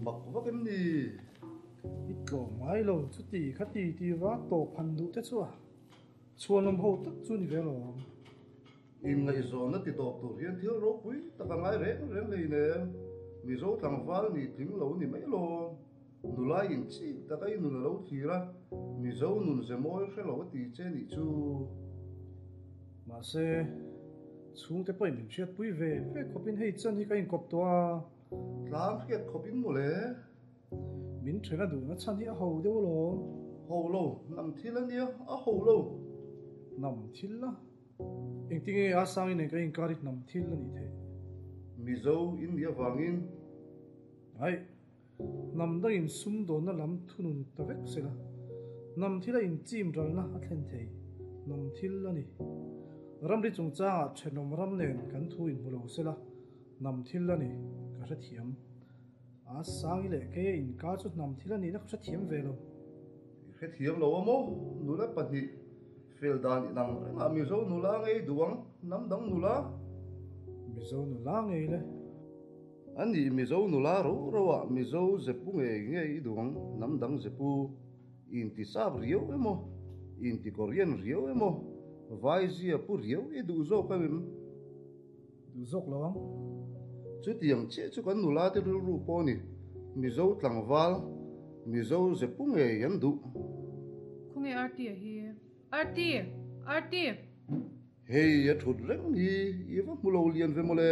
Mak vak em ni? I tlawm ngai lo, chuti khati ti va tawp han duh te chu a chhuanawm ho tak chu ni ve alawm. Inngaihzawnna ti tawp tur hian thil ropui tak a ngai reng reng hleinem. Mizo tlangval nih tling lo ni mai alawm. Nula in chik tak a i nun a lo thlir a, Mizo nun ze mawi hre lo a ti che nih chu. Mahse, chhungte pawhin min hriatpui ve ve khawpin hei chan hi ka inkawp tawh a. Tlang hriat khawpin mawle. Min then a duhna chhan hi a ho deuh alawm. Ho lo, hnam thil a nia, a ho lo. Hnam thil a? Engtinge a Sangi nen kan inkar hi hnam thil a nih theih? Mizo in nih avangin. Aih, hnam dangin sumdawnna lam thunun ta vek sela, hnam thila inchim ralna a thlen thei, hnam thil a ni. Ramri chungchangah thenawm ram nen kan thu inhmu lo sela, hnam thil a ni, ka hrethiam. A Sangi leh Keia inkar chu hnam thil a nihna ka hrethiam ve lo. I hrethiam lo a maw? Nula pahnih fel dan inang rengah Mizo nula ngei duh ang, hnam dang nula. Mizo nula ngei le. A nih Mizo nula ro ro ah Mizo zepu ngei ngei i duh ang, hnam dang zepu. I inti sap riau emaw, i inti Korean riau emaw, Vai zia pu riau i duh zawk em em? Duh zawk lo ang. Chutiang chiah chu kan nula te rilru pawh a ni. Mizo tlangval, Mizo zepu ngei an duh. Khawnge Arti a hi? Arti! Arti! Hei a thut reng hi i va hmu lo lian ve mawle.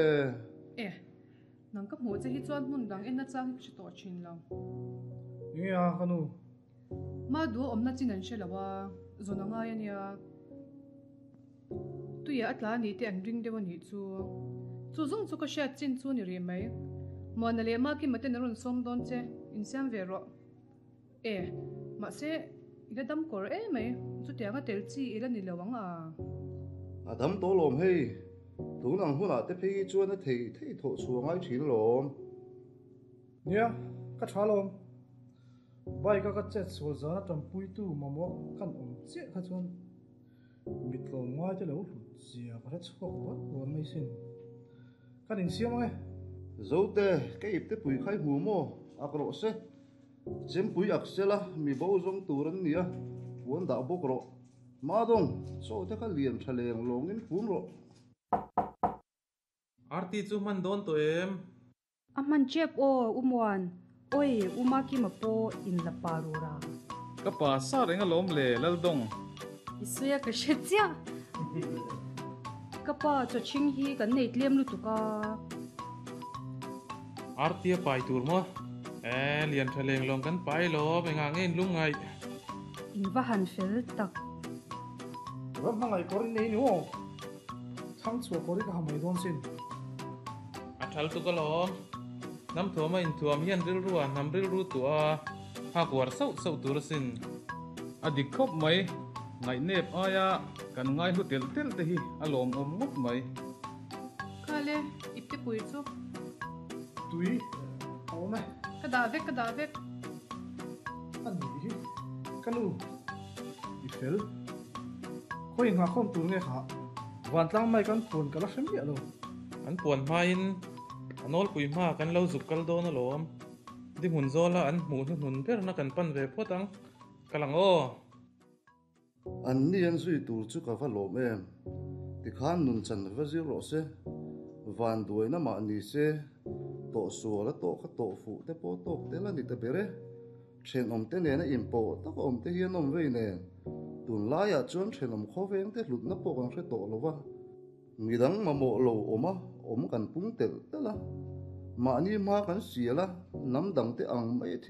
E, nang ka hmuh che hi chuan hmun dang en nachang hi ka hre tawh thin lo. Enge a ka nu? Ma duh a awmna chin an hre lo a, zawn a ngai a nia. Tuiah a tla a nih te an ring deuh a nih chu. Chu zawng chu ka hriat chin chu ni rih mai. Muana leh Makima ten an rawn sawm dawn che, insiam ve rawh. E, mahse, i la dam kawr em mai, chutianga tel chi i la ni lo ang a. A dam tawh lawm hei, tun ang hunah te phei hi chuan a thei thei thawh chhuah ngai thin lawm. Nia, ka tha lawm. Bike a ka chet sual zana tanpuitu mamawh kan awm chiah kha chuan mi tlawmngai te lo hlut zia ka hre chhuak rual rual mai sin. Kan insiam ang e. Zote, ka ipte pui kha i hmu maw? Ak rawh se. Chempui ak sela, mi bo zawng tur an nia, puan dah bawk rawh. Madawng, chaw te kha lian tha leng lawngin fun rawh. Arti chu hman dawn tawh em? A hman tep aw U Muan, Oi U Makima pawh in la pa rura. Ka pa sa reng alawm le Laldawng. I sawi a ka hre chiah. Ka pa chawchhing hi kan nei tlem lutuk a. Artia pai tur maw? E lian tha leng lawng kan pai lawm engah nge in lungngaih. In va han fel tak. Ram hmangaih kawr in nei ni aw. Thlang chhuah kawr hi ka ha mai dawn sin. A thal tuk alawm. Hnam thuama inthuam hian rilru ah hnam rilru tuah a, hak uar sauh sauh tur asin. A dik khawp mai, ngaihnep aia kan ngaihlu telh telh te hi a lawmawm ngawt mai. Khale, ipte pui chu. Tui a awm e. Ka dah vek, ka dah vek. A nih hi, ka nu, i fel. Khawi nghahkhawm tur nge kha? Vantlang mai kan puan ka la hre miah lo. An puan hmain a nawlpui hma kan lo zuk kal dawn alawm. Dihmun zawla an hmuh hnuhnun berna kan pan ve phawt ang. Kal ang aw. An ni an zui tur chu ka va lawm em. Tikhan nun chan va zir rawh se. Van duaina mah ni se, tawh sual a tawh kha tawh fuh te pawh tawk tel a ni ta ber e. Thenawmte nena inpawh tak awmte hi an awm vei nen, tunlaiah chuan thenawm khawvengte hlutna pawh kan hre tawh lo va, midang mamawh lo awma awm kan pung telh telh a, mahni hma kan sial a, hnam dangte ang mai thil.